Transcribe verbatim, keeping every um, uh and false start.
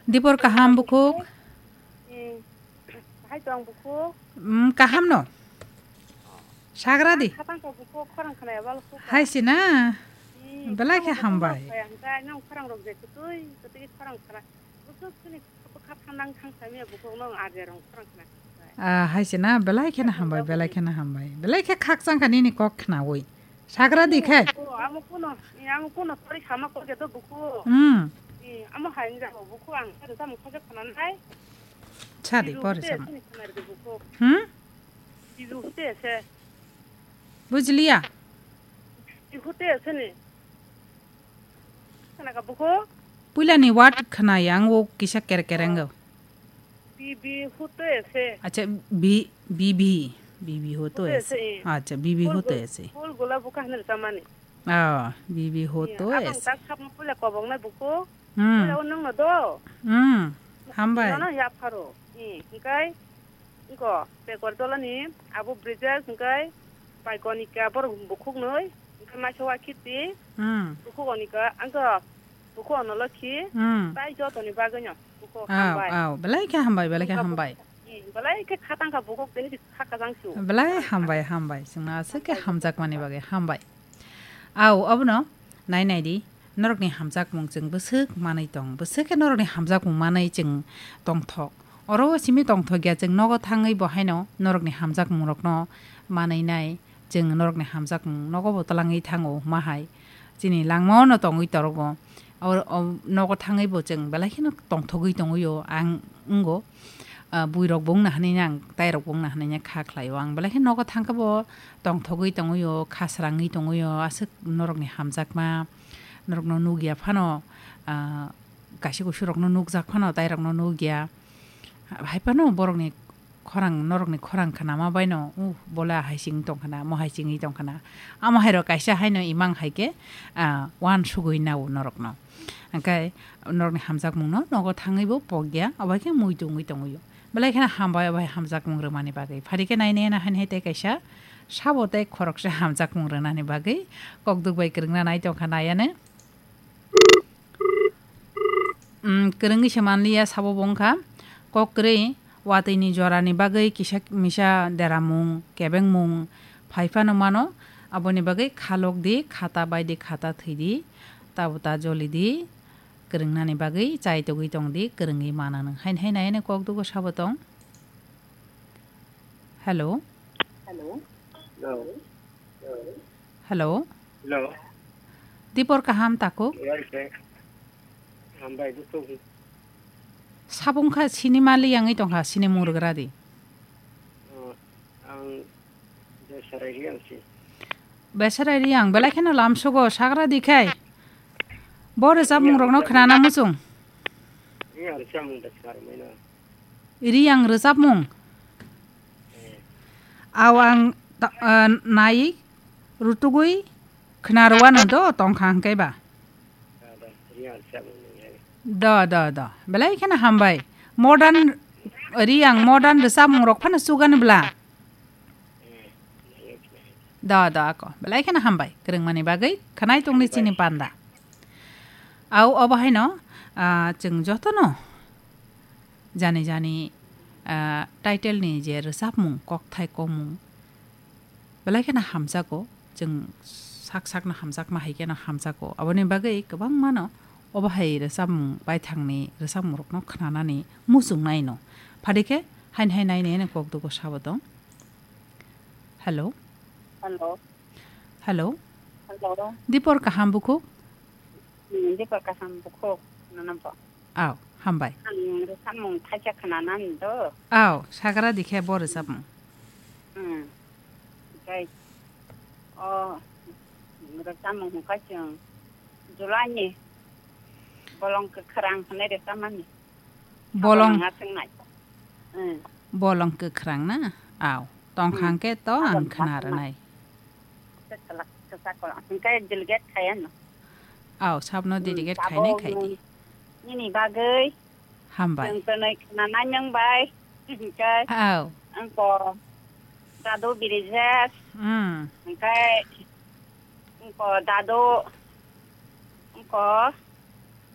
Dipor kaham bukhuk? Hmm. Hai tong bukhuk? Hmm, kaham no? Sagra di. Khatang ka bukhuk khorang khna ya bal khuk. Hai si na. Hmm, belai khe hambai. Nang khorang rok je kutui, kutui khorang khna. Bukhuk sini bukhuk khatang nang thang sami ya bukhuk nang aje rong khorang khna. Ah, hai si na, belai khe na hambai, belai khe na hambai. Belai khe khakchang kha nini kok khnaui. Sagra di khe. Amo kuno, amo kuno tori sama ko gedo buku. Hmm. Amo hain ja buku ang sa sa mukha khana nai. Chadi pori sama. Hmm? Bizu hute se. Bujliya. Bizu hute se ni. Khana ka buku. Puila ni word khana yang o kisa kere kere ngo. Bibi hute se. Acha bi bibi bibi hoto ese. Acha bibi hoto ese. Hol gola buka hanir samani. Ah, bibi hoto ese. Abang tak khap pula kobong na buku. Hmm. Pula unang na do. Hmm. Hambai. Nono ya pharo. Hmm. Engkai. Engko pekor tolani abu Bridges engkai. Bai konika bor bukhuk noi. Engkai maisa wa khiti. Hmm. Bukhuk onika. Engko Buku ono lokhi, hmm, tai jotoni bagwino. Buku hambai. Aw, aw, belai khe hambai, belai khe hambai. Hmm, belai khe khatang kha buku tini kha kajang su. Belai hambai, hambai. Chwngno aswk khe hamjakmani bagwi hambai. Aw, obono nai nai di. Norokni hamjakmung chwng bwswk manwi tong. Bwswk khe norokni hamjakmung manwi chwng tongthok. Oro simi tongthok ya chwng nogo thangwi bo haino norokni hamjakmungrokno manwi nai. Chwng norokni hamjakmung nogo bo twlangwi thango hwma hai. Chini langmao no tongwi torogo. O, o nogo thangwi bo chwng belai kheno tongthogwi tongwi o ang wngo. Ah, buirok bo wngna hwnwi ang tairok bo wngna hwnwi kha khlai o. Ang belai kheno nogo thang khe bo tongthogwi tongwi o, kha srangwi tongwi o. Aswk norokni hamjakma, norokno nukya phano, ah, kaisa kusurokno nukjak phano tairokno nukya. Hai phano borokni khorang, norokni khorang khnama baino, uh, bola hai sing tong khna, mo hai singwi tong khna. Amo hai rok kaisa haino imang hai khe, ah, wan sugwi nao norokno. Hwnkhe norokni hamjakmungno nogo thangwi bo pokya, obo hai khe mui tungwi tongwi o. Belai kheno hambai obo hai hamjakmung rwmani bagwi. Phari khe nai nai na hani hai tei kaisa sabo tei khoroksa hamjakmung rwnani bagwi kokduk bai kwrwngna nai tong kha nai ano. Mm, kwrwngwi se manliya sabo bo wngkha. Kok kwrwi watwi ni jora ni bagwi kisa misa deramung, kebengmung phai phano mano. Aboni bagwi khalok di, khata bai di, khata thwi di, tabuk ta joli di, kwrwngna ni bagwi chai togwi tong di, kwrwngwi mana nwng. Haini hai nai ani kok dugo sabo tong. Hello. Hello. Hello. Hello. Hello. Dipor kaham takhuk? Hambai, dukhu. Sabung kha sini mali yangwi tongkha, sini mung rwgra di. Oh, ang Besarai Riang si. Besarai Riang, belai kheno lamsogo, sagra di khai. Bo rwchapmung rokno khnana muchung. Riang rwchapmung da khnarwmai no. Riang rwchapmung. Aw ang ta-, ah, nai rutugwi khna rwano do tongkha hwnkhe ba. Do, do, do. Belai kheno hambai. Modern, Riang modern rwchapmung rok phano chugan bla. Do, do, ako. Belai kheno hambai. Kwrwngmani bagwi khwnai tongni chini panda. Au, obo haino, ah, chwng jotono jani jani, ah, title ni je rwchapmung, kokthai komung, belai kheno hamjago, chwng sak sakno hamjakma hai kheno hamjago. Aboni bagwi kwbangmano obo hai rwchapmung baithangni rwchapmungrokno khnanani muchungnaino. Phadikhe hain hai nai nai kok dugo sabo tong. Hello. Hello. Hello. Hello. Dipor kaham bukhuk? Hmm, Dipor kaham bukhuk. Nono bo. Aw, hambai. Ang rwchapmung thaisa khwnanani do. Aw, sagra dikhe bo rwchapmung. Hmm. Tei o rwchapmung hwnkha chwng July ni bolong kwkhwrang hwnwi rwchapmani. Bolong. Sabo nang aswk nai. Hmm. Bolong kwkhwrang na? Aw, tongkha hwnkhe to ang khna rwnai. Kwchak kwchak ko hwnkhe delegate khaiya no. Aw, sabno delegate khainai khai di. Nini bagwi. Hambai. Chwng twnwi khwnanai nwng bai. Hwnkhe. Aw. Angko Dadu Birijesh. Hmm. Hwnkhe angko Dadu. Angko